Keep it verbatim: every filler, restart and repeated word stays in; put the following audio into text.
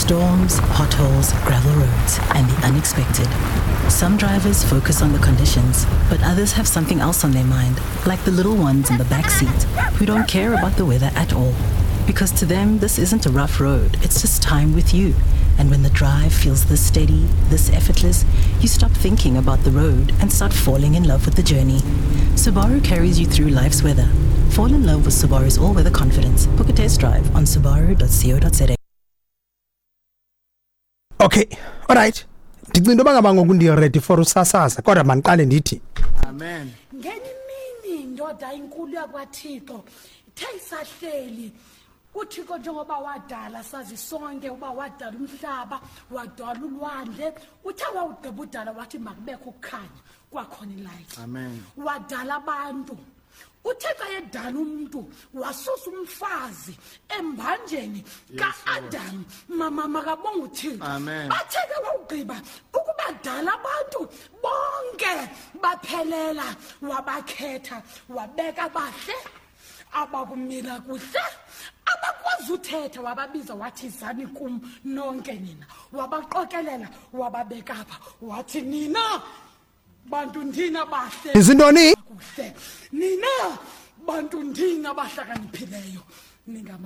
Storms, potholes, gravel roads, and the unexpected. Some drivers focus on the conditions, but others have something else on their mind, like the little ones in the back seat who don't care about the weather at all. Because to them, this isn't a rough road, it's just time with you. And when the drive feels this steady, this effortless, you stop thinking about the road and start falling in love with the journey. Subaru carries you through life's weather. Fall in love with Subaru's all weather confidence. Book a test drive on subaru dot co dot za. Okay, alright, ndicinga into yoba ngaba ngoku ndi-ready for usasaza, kodwa mandiqale ndithi Amen. Ngenye imini, indoda inkulu yakwaThixo ithe isahleli uThixo, njengoba wadala, sazi sonke uba wadala umhlaba, wadala ulwandle. Uthe wawugqiba udala, wathi makubekho ukukhanya, kwakhona i-light. Amen. Wadala abantu. Uthe xa edala umntu, wasusa umfazi embanjeni ka-Adam. Mama, makabonga uThixo. Amen. Athe ke wawugqiba ukubadala abantu bonke baphelela, wabakhetha, wabeka bahle, abakumila kuhle, abakwazi uthetha. Wababiza, wathi, "Zani kum nonke nina." Wabaqokelela, wababeka apha, wathi, "Nina bantu ndina bahle Izintoni? kuhle, nina bantu ndina bahlakaniphileyo, ningama